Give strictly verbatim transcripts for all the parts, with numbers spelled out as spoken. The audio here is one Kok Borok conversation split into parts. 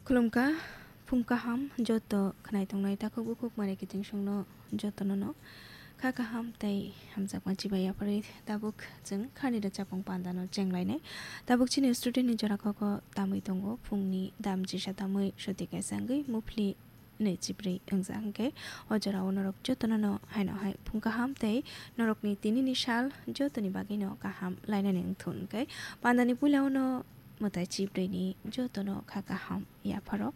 Khulumkha, phung kaham joto khnai tongnai takhuk bukhuk mare kiting songno jotono no kha kaham tei hamjakma chibai yapharwi tabuk chwng khani rwchapmung pandano chenglainai. Tabuk chini student ni jora koko tamwi tongo, phungni dam jisa tamwi soti kaisa wngwi muphli nwi chibrwi wngjak hwnkhe o jorao norok jotono no haino hai phung kaham tei norokni tinini sal jotoni bagwino kaham lainani wngthun hwnkhe pandani puilao no mwtai chibrwini jotono kha kaham yapharo.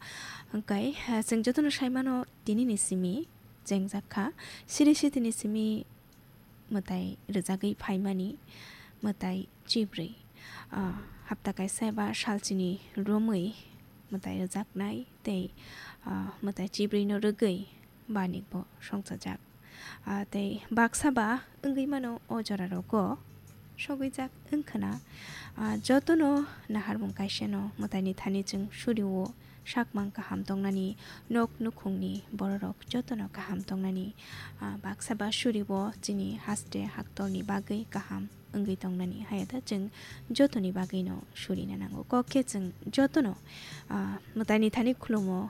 Hwnkhe, ah, chwng jotono saimano tinini simi chengjak kha. Siri sitini simi mwtai rwjagwi phaimani mwtai chibrwi. Ah, hapta kaisa eba salchini romwi mwtai rwjaknai tei, ah, mwtai chibrwino rwgwi banikbo songchajak. Ah, tei baksa ba wngwi mano o jora rogo sogwijak wngkhwna. Ah, jotono naharmung kaisano mwtaini thani chwng surio sakmang kaham tongnani, nok nukhungni bororok jotono kaham tongnani. Ah, baksa ba surio chini haste haktorni bagwi kaham wngwi tongnani. Hayata chwng jotoni bagwino surina nango. Kok khe chwng jotono, ah, mwtaini thani khulumo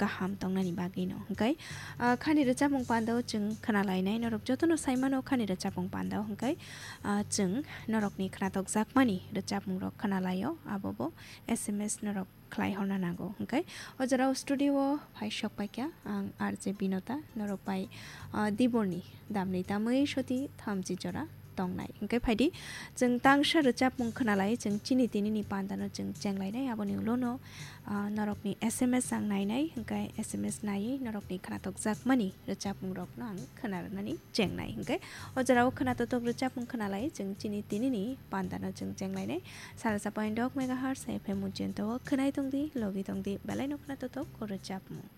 kaham tongnani bagwino. Hwnkhe, ah, khani rwchapmung pandao chwng khwnalainai, norok jotono saimano khani rwchapmung pandao. Hwnkhe, ah, chwng norokni khwnatokjakmani rwchapmungrok khwnalaio, abobo S M S norok khlai horna nango. Hwnkhe o jorao studio o phai sok paikha ang R J Binota, norok bai, ah, Diborni damni tamwi soti thamchi jora tongnai. Hwnkhe phaidi, chwng tangsa rwchapmung khwnalai, chwng chini tinini pandano chwng chenglainai, aboni ulono, ah, norokni S M S ang nainai, hwnkhe S M S naiwi norokni khwnatokjakmani rwchapmungrokno ang khwnarwnani chengnai. Hwnkhe o jorao khwnatotok rwchapmung khwnalai, chwng chini tinini pandano chwng chenglainai. Sara sa point dok megahertz F M Mujento o khwnai tongdi, logi tongdi, belaino khwnatotok o rwchapmung.